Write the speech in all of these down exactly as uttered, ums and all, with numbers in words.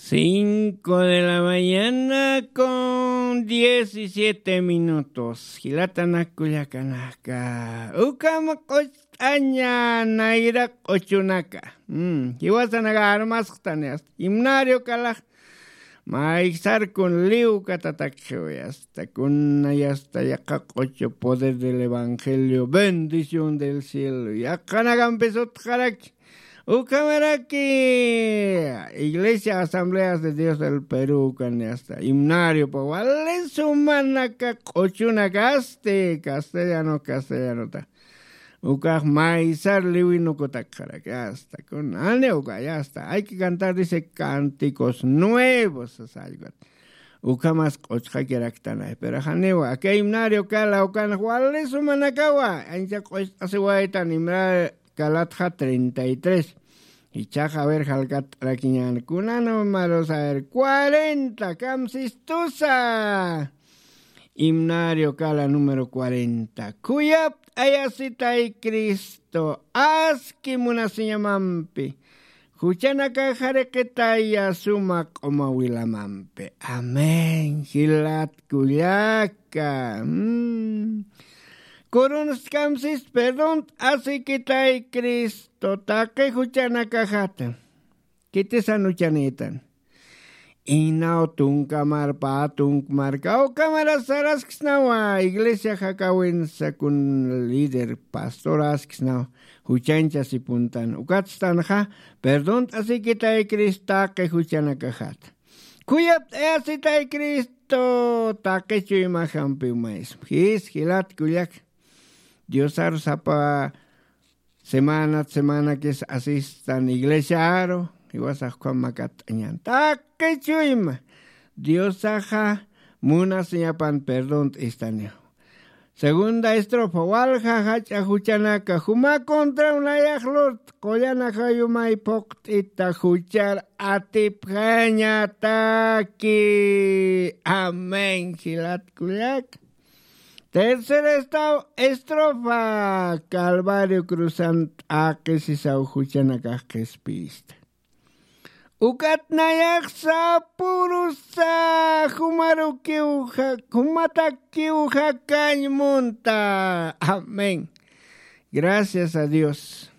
Cinco de la mañana con diecisiete minutos. Jilatanakullakanaka. Ukam q'uch'aña nayra q'uchunaka. Mm, jiwasanaka armasqtani hasta. Himnario kalax. Maysar kun liw katatakxiwi hasta. Kuna yasta yaqa q'uchu poder del evangelio. Bendición del cielo. Yaqanakampis utqaraki. Ukhamaraki Iglesia Asambleas de Dios del Perú, kani hasta himnariopa wali sumanaka q'uchunakasti, castellano, castellanota. Ukax maysar liwinukutakxaraki, hasta kunani uka, ya hasta. Hay que cantar, dice, cánticos nuevos, sasallwat. Ukhamas q'uchxakiraktanay, pero janiwa, aka himnario kala ukan wali sumanakawa, ancha q'uch'asiwaytan himnario kalatxa treinta y tres. Ichaxa, a ver, jalkat'arakiñän. Kuna números, a ver, cuarenta, kamsistusa. Himnario kala número cuarenta. Khuyapt'ayasitay Cristo, aski munasiñamampi. Juchanakax jariqitaya suma q'uma wilamampi. Amén. Jilat kullaka. Mm. Kurunstkamsis perdont'asikitay Cristo taqi juchanakaxata. Kitisan juchanïtan. Inaw tunkamar pä tunkmar kawkamara saraskisnawa iglesia jakawinsa kun líder pastor asksnaw juchanchasipuntan. Ukatstanxa perdont'asikitay Cristo taqi juchanakaxata. Khuyapt'ayasitay Cristo taqi chuymaxampiw maysma. Jis jilat kullak. Diosar sapa semanat semanakis asistan iglesiaru, jiwasax ukham makat'añan. Taqi chuyma Diosaxa munasiñapan perdont'istaniw. Segunda estrofa, walja jach'a juchanaka juma contraw nayax lurt, qullan ajayumay phuqt'ita juchar atipjañataki. Amén, jilat kullak. Tercer estaw estrofa, Calvario cruzan t'aqisisaw juchanakax qhispiyista. Ukat nayax sapurusa jumarukiw ja-, jumatakiw jakañ munta. Amén. Gracias a Dios.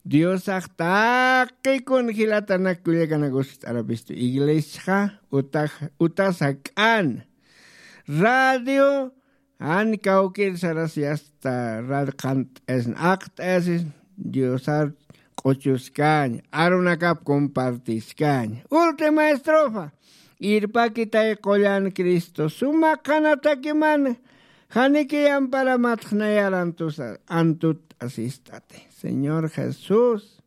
Diosax taqikun jilatanakullakanak uskt'arapistu. Iglesiaxa utax-, utas jak'an. Radio, jan kawkir sarasi hasta radio qhant'ayasna, aqt'ayasis Diosar q'uchuskañ, arunakap compartiskañ. Última estrofa. Irpakitay qullan Cristo, suma qhanatakiman, janiki yamparamatx nayar antusa-, antut'asistati. Señor Jesús,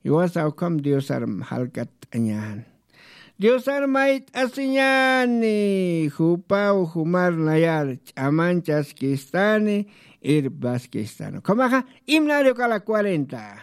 jiwasa ukham Diosar jalkatt'añäni. Diosar mayt'asiñäni, jupaw jumar nayar ch'amanchaskistani, irpaskistani. Ukhamaxa, himnario kala cuarenta.